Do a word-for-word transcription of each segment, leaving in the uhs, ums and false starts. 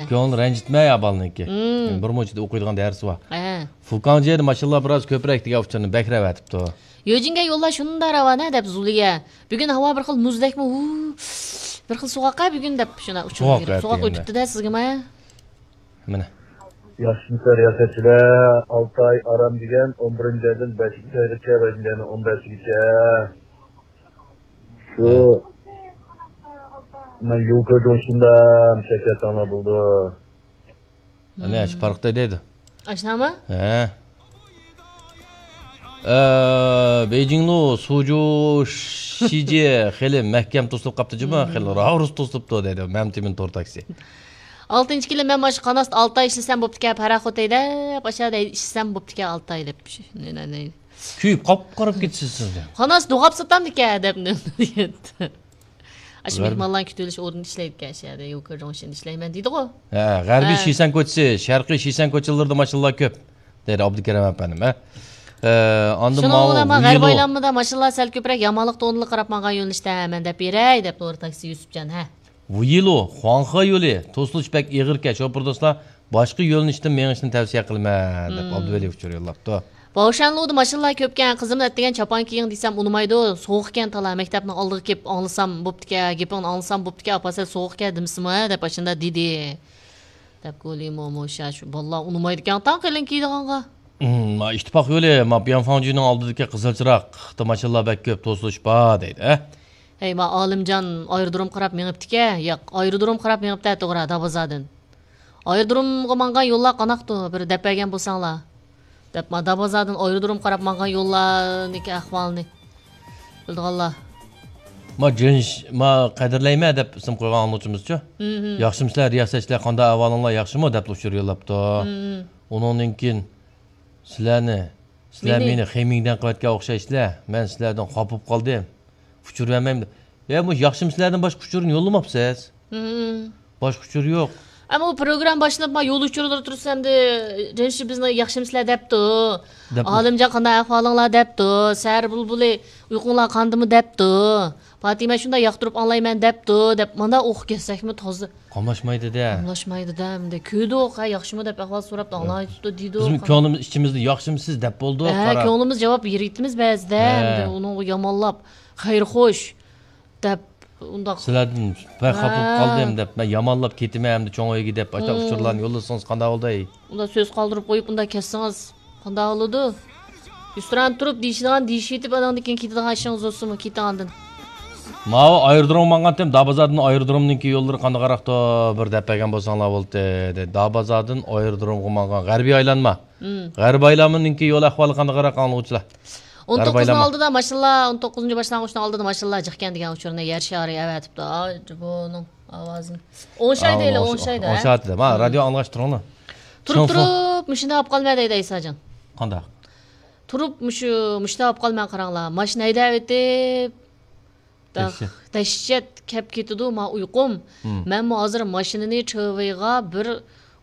كۆڭلىنى رەنجىتمە يا بالىنىڭكى. مم. بىر مۇنچىدا ئوقۇيدىغان دەرسى بار. ھە. فۇكاڭجيەدە ماشىنىلار بىراز كۆپرەك دېگەن ئۇچۇرنى بەكرەك ئەۋەتىپتۇ. يۆجىنگە يوللار شۇنداق راۋانە دەپ زۇلىيە. بۈگۈن ھاۋا بىر خىل مۇزدەكمۇ؟ ھۇ، بىر خىل سوغۇق ھە بۈگۈن دەپ شۇنداق ئۇچۇر سوغۇق بېرىپ. سوغۇق ئەتىگەندە. ئۆتۈپتۇ-دە سىزگىمۇ ھە؟ مانا. ياخشىمۇسىلەر رىياسەتچىلەر، ئالتە ئاي ئارام دېگەن ئون بىرىنچى ئايدىن بەشىنچى ئايغىچە، بەشىنچى ئايدىن ئون بەشىگىچە. شۇ، مەن يۇكا جۇڭشىندا مۇشەككەت تاڭلار بولىدۇ. ئەنە، شۇ پارقتا دەيدۇ. ئاشۇنداقمۇ؟ ھە. ئە، بېيجىڭلۇ سۇجۇ شىجى خېلى مەھكەم توسۇلۇپ قاپتۇ جۇمۇ، خېلى راۋۇرۇس توسۇلۇپتۇ دەيدۇ مەمتىمىن تور تاكسى. ئالتىنچى كېلىم، مەن ماشۇ قاناستا ئالتە ئاي ئىشلىسەم بوپتىكەن، پاراخوت ھەيدەپ، ئاشۇ يەردە ئىشلىسەم بوپتىكەن ئالتە ئاي دەپ. شۇ، نە، نە، نە. كۆيۈپ قاپقارا بولۇپ كېتىسىز سىز. قاناس دوغاپ ساتامدىكەن دەپ. ئاشۇ غەرب- مېھمانلارنى كۈتۈۋېلىش ئورنىدا ئىشلەيدىكەن، ئاشۇ يەردە يوكا جۇڭشىندا ئىشلەيمەن دېدىغۇ. ھە، غەربىي ھە. شىسەن كوچىسى، شەرقىي شىسەن كوچىلىرىدا ماشىنىلار كۆپ، دەيدۇ ئابدۇكېرىم ئەپەندىم، ھە. ئە، ئاندىن شۇنىڭ ماۋۇ بىلەن مانا غەربىي ۋىلو. ئايلانمىدا ماشىنىلار سەل كۆپرەك، يامانلىق تونىلىق قاراپ ماڭغان يۆنىلىشتە مەن دەپ بېرەي، دەپ نۇر تاكسى يۈسۈپجان، ھە. ۋىلو، خۇاڭخې يولى، توسۇلۇش بەك ئېغىركەن، شوپۇر دوستلار، باشقا يۆنىلىشتىن مېڭىشنى تەۋسىيە قىلىمەن، دەپ مم. ئابدۇۋەلى ئۇچۇر يوللاپتۇ. باۋشەنلۇدا ماشىنىلار كۆپكەن، قىزىمنى ئەتىگەن چاپان كىيىڭ دېسەم ئۇنىمايدۇ، سوغۇقكەن تالا، مەكتەپنىڭ ئالدىغا كېلىپ ئاڭلىسام بوپتىكەن، گېپىڭنى ئاڭلىسام بوپتىكەن، ئاپا سەل سوغۇقكەن دېمىسىمۇ دەپ ئاشۇنداق دېدى. دەپ گولى مومو شاش، بالىلار ئۇنىمايدىكەن تاڭ قېلىن كىيىدىغانغا. مم، ما ئىتتىپاق يولى، ما بيانفاڭجۈنىڭ ئالدىدىكى قىزىل چىراغ، ماشىنىلار بەك كۆپ، توسۇلۇش بار دەيدۇ، ھە؟ ھەي، ما ئالىمجان ئايرودروم قاراپ مېڭىپتىكەن، ياق، ئايرودروم قاراپ مېڭىپتە توغرا، دابازادىن. ئايرودرومغا ماڭغان يوللار قاناقتۇ؟ بىر دەپ بەرگەن بولساڭلار. دەپ ما دابازادىن ئايرودروم قاراپ ماڭغان يوللارنىڭكى ئەھۋالىنى بىلىدىغانلار. ما جىنش، ما قەدىرلەيمەن دەپ ئىسىم قويغان ئاڭلىغۇچىمىزچۇ؟ مم. ياخشىمۇسىلەر رىياسەتچىلەر، قانداق ئەھۋالىڭلار، ياخشىمۇ دەپ ئۇچۇر يوللاپتۇ. مم. ئۇنىڭدىن كېيىن سىلەرنى، سىلەر مېنى؟ مېنى خېمىڭدەن قىلىۋەتكەن ئوخشايسىلەر، مەن سىلەردىن خاپا بولۇپ قالدىم. ئۇچۇر بەرمەيمەن. يا، مۇشۇ ياخشىمۇسىلەردىن باشقا ئۇچۇرنى يوللىماپسىز. مم. باشقا ئۇچۇر يوق. ئەمما ئۇ پروگرامما باشلىنىپ، ما يول ئۇچۇرلىرى تۇرسا ئەمدى، رەنشى بىزنى ياخشىمۇسىلەر دەپتۇ. دەپ. ئالىمجان قانداق ئەھۋالىڭلار دەپتۇ. سەھەر بۇلبۇلى ئۇيقۇڭلار قاندىمۇ دەپتۇ. پاتىمە شۇنداق ياقتۇرۇپ ئاڭلايمەن دەپتۇ، دەپ مانا ئوقۇپ كەتسەكمۇ تازا. قاملاشمايدۇ-دە. قاملاشمايدۇ-دە، ئەمدى كۆردۇق، ھە، ياخشىمۇ دەپ ئەھۋال سوراپتۇ، ئاڭلايتتۇ دېدۇق. بىزمۇ كۆڭلىمىز ئىچىمىزدە ياخشىمۇسىز دەپ بولدۇق، ھە، قاراپ. كۆڭلىمىز جاۋاب بېرىۋېتىمىز بەزىدە، ھە. ئەمدى ئۇنىڭغا يامانلاپ، خەير خوش دەپ، ئۇنداق. سىلەردىن بەك خاپا بولۇپ ھە. قالدىم دەپ، مەن يامانلاپ كېتىمەن ئەمدى چوڭ ئۆيگە دەپ، ئاشۇنداق مم. ئۇچۇرلارنى يوللىسىڭىز قانداق بولدى؟ ئۇنداق سۆز قالدۇرۇپ قويۇپ، ئۇنداق كەتسىڭىز قانداق بولىدۇ؟ ئۈستىران تۇرۇپ دېيىشىدىغان دېيىشىۋېتىپ، ئاناندىن كېيىن كېتىدىغان ئىشىڭىز بولسىمۇ، كېتىڭ ئاندىن. ماۋۇ ئايرودرومغا ماڭغانتىم، دابازادىن ئايرودرومنىڭكى يوللىرى قانداقراقتۇ؟ بىر دەپ بەرگەن بولساڭلار بولدى، دەيدۇ. دابازادىن ئايرودرومغا ماڭغان غەربىي ئايلانما. مم. غەربىي ئايلانمىنىڭكى يول ئەھۋالى قانداقراق ئاڭلىغۇچىلار؟ ئون توققۇزنىڭ غەربىي ئايلانما. ئالدىدا ماشىنىلار، ئون توققۇزىنچى باشلانغۇچنىڭ ئالدىدا ماشىنىلار جىقكەن دېگەن ئۇچۇرنى يەر شارى ئەۋەتىپتۇ. ئا، بۇنىڭ ئاۋازىنى. ئوڭشاي دەيلى، ئا، ئوڭشايدا. ئوڭشايدۇ. ما، مم. رادىيو ئاڭلاشتۇرۇڭلار. تۇرۇپ شۇڭخۇا. تۇرۇپ مۇشۇنداق بولۇپ قالماي دەيدۇ ئەيساجان. قانداق؟ تۇرۇپ مۇشۇ، مۇشۇنداق بولۇپ قالماي قاراڭلار. ماشىنا ھەيدەۋېتىپ، داخ-، دەھشەت. دەھشەت كەپ كېتىدۇ ما ئۇيقۇم. مم. مەنمۇ ھازىر ماشىنىنى چېۋىغا بىر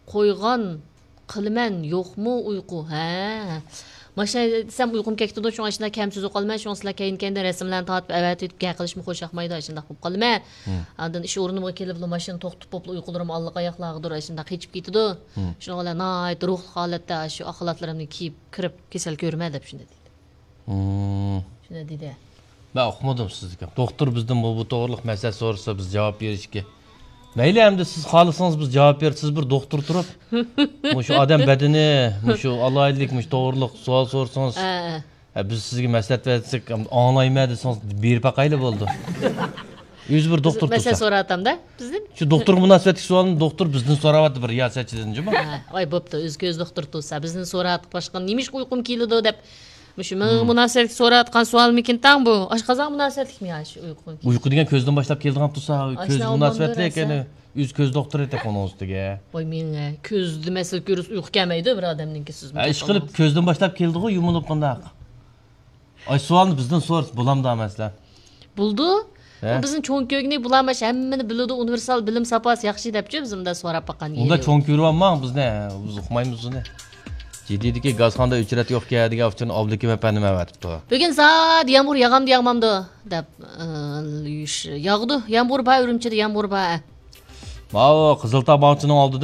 قويغان قىلىمەن، يوقمۇ ئۇيقۇ؟ ھە. ماشىنا دېسەم ئۇيقۇم كەتكىدۇ، شۇڭا ئىچىدە كەم سۆزلەپ قالىمەن، شۇڭا سىلەر كەينى-كەينىدىن رەسىملەرنى تارتىپ ئەۋەتىۋېتىپ گەپ قىلىشمۇ خوش ياقمايدۇ، ئاشۇنداق بولۇپ قالىمەن. مم. ئاندىن ئىش ئورنۇمغا كېلىپلا ماشىنا توختىتىپ بولۇپلا ئۇيقۇلىرىم ئاللىقاياقلاردۇر، ئاشۇنداق قېچىپ كېتىدۇ. مم. شۇنىڭ بىلەن ناھايىتى روھلۇق ھالەتتە شۇ ئاق خالاتلىرىمنى كىيىپ كىرىپ كېسەل كۆرمە دەپ شۇنداق دېدى. مم. شۇنداق دېدى. مەن ئۇقمىدىم سىزنىڭكى. دوختۇر بىزدىن بۇ، بۇ توغرىلىق مەسىلە سورىسا، بىز جاۋاب بېرىشكە. مەيلى، ئەمدى سىز خالىسىڭىز، بىز جاۋاب بېرىپ، سىز بىر دوختۇر تۇرۇپ، مۇشۇ ئادەم بەدىنى، مۇشۇ ئالاھىدىلىك، مۇشۇ توغرىلىق سوئال سورىسىڭىز، ھە، ھە، بىز سىزگە مەسلىھەت بەرسەك، ئاڭلايمەن دېسىڭىز، بېرىپ باقايلى بولدى. ئۆزى بىر دوختۇر مەسىلە تۇرسا. سوراۋاتامدا، بىزدىن. شۇ دوختۇرغا مۇناسىۋەتلىك سوئالنى دوختۇر بىزدىن سوراۋاتىدۇ، بىر رىياسەتچىدىن جۇمۇ. ھە، ۋاي، بوپتۇ، ئۆزى كۆز دوختۇر تۇرسا، بىزدىن سوراۋاتقان باشقا، نېمىشقا ئۇيقۇم كېلىدۇ دەپ. مۇشۇ مېنىڭ مۇناسىۋەتلىك سوراۋاتقان سوئالمىكىن تاڭ بۇ؟ ئاشقازانغا مۇناسىۋەتلىكمۇ يا شۇ ئۇيقۇ؟ ئۇيقۇ دېگەن كۆزدىن باشلاپ كېلىدىغان تۇرسا، ئاشۇ كۆزگە مۇناسىۋەتلىك، يەنى ئۆزى كۆز دوختۇرى تېخى ئۇنىڭ ئۈستىگە. ۋاي مېنىڭ، كۆزدە مەسىلە كۆرسە ئۇيقۇ كەلمەيدۇ بىر ئادەمنىڭكى سىزمۇ. ئە، ئىشقىلىپ كۆزدىن باشلاپ كېلىدىغۇ يۇمۇلۇپ بۇنداق. ئاي، سوئالنى بىزدىن سورىسا بولامدا مەسىلەن؟ بولىدۇ. ھە؟ بۇ بىزنىڭ چوڭ كۆرگىنى، بۇلار ماش ھەممىنى بىلىدۇ، ئۇنىۋېرسال بىلىم ساپاسى ياخشى دەپچۇ، بىز مۇنداق سوراپ باققان. ئۇنداق چوڭ كۆرۈۋالماڭ بىزنى، بىز ئۇقمايمىز ئۇنى. جىددىيدىكى گازخانىدا ئۆچرەت يوقكەن دېگەن ئۇچۇرنى ئابلىكىم ئەپەندىم ئەۋەتىپتۇ. بۈگۈن زادى يامغۇر ياغامدۇ ياغمامدۇ دەپ، ئى، ياغىدۇ. يامغۇر بار، ئۈرۈمچىدە يامغۇر بار. ماۋۇ قىزىلتاغ باغچىنىڭ ئالدىدىن